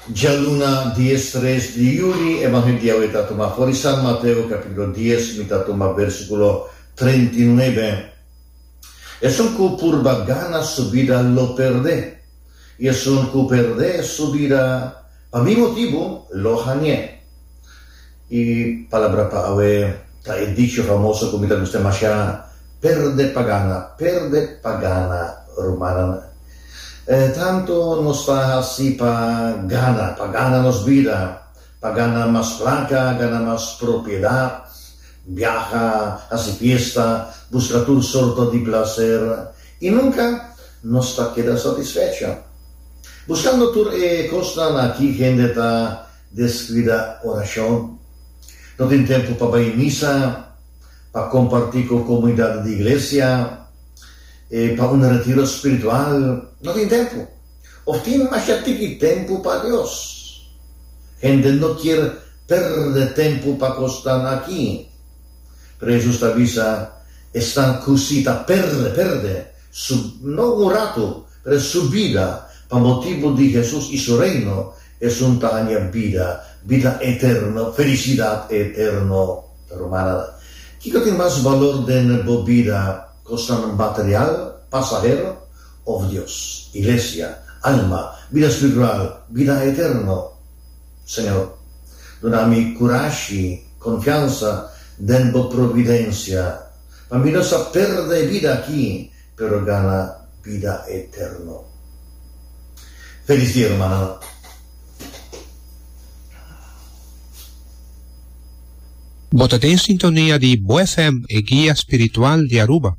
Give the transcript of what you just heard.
Djaluna diestres di yuli, Evangelio di awe ta tuma for di San Mateo capítulo dies, mi ta tuma versículo 39. Esun ku purba gana su bida lo perdé, i esun ku perdé su bida pa mi motibu lo hañ'é. E palabra pa awe ta e dicho famoso ku mi ta gusta mashá, Perde pa gana, perde pa gana, rumannan. Tantu nos ta hasi pa gana, pa gana nos bida, pa gana mas plaka, gana mas propiedat, biaha, hasi fiesta, buska tur sorto di plaser, i nunka nos ta keda satisfecho. Buskando tur e kosnan aki hende ta deskuida orashon. No tin tempu pa bai misa, pa kompartí ku komunidat di iglesia, pa un retiro spiritual. No tin tempu. Òf tin masha tiki tempu pa Dios. Hende no kier pèrdè tempu pa kosnan aki. Pero Hesus ta bisa esnan ku si ta pèrdè, pèrdè, su, no un ratu, pero su bida pa motibu di Hesus i su Reino, esun ta haña bida, bida eterno, felisidat eterno. Rumannan, kiko tin mas balor den bo bida, kosnan material, pasahero, òf Dios, iglesia, alma, bida spiritual, bida eterno? Señor, duna mi kurashi, konfiansa den bo providensia, pa mi no sa pèrdè e bida aki, pero gana bida eterno. Felis dia, rumannan. Bo ta den sintonia di Bo FM, e guia spiritual di Aruba.